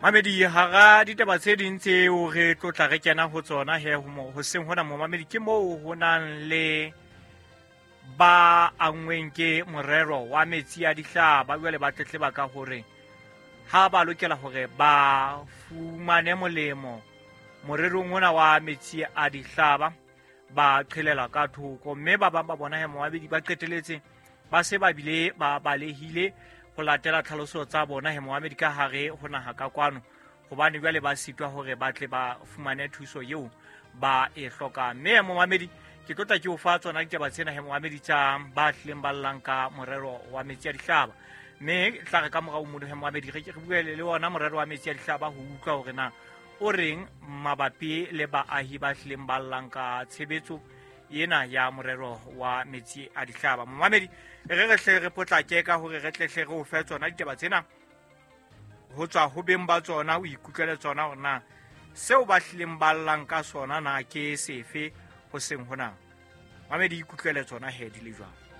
Mamedi, hara ditaba tse ding tseo re tlotla re kena ho tsona he hoseng hona, momamedi, ke moo ho nang le ba anngweng ke morero wa metsi a dihlaba. Jwale ba tletleba ka hore ha ba lokela hore ba fumane molemo morerong ona wa metsi a dihlaba, ba qhelela ka thoko, mme ba bang ba bona he, momamedi, ba qeteletse ba se ba bile ba balehile ho latela tlhaloso tsa bona he, momamedi, ka hare ho naha ka kwano, hobane jwale ba sitwa hore ba tle ba fumane thuso eo ba e hlokang. Mme momamedi, ke tlotla ke o fa tsona ditaba tsena he, momamedi, tsa ba hlileng ba llang ka morero wa metsi a dihlaba. Mme tla re ka morao mono he, momamedi, re bue le ona morero wa metsi a dihlaba ho utlwa hore na o reng mabapi le baahi ba hlileng ba llang ka tshebetso ena ya morero wa metsi a dihlaba. Momamedi, re re hle re potlake ka hore re tlehle re o fe tsona ditaba tsena ho tswa ho beng ba tsona, o ikutlwele tsona hore na seo ba hlileng ba llang ka sona na ke sefe ho seng hona. Mamedi, ikutlwele tsona he di le jwang.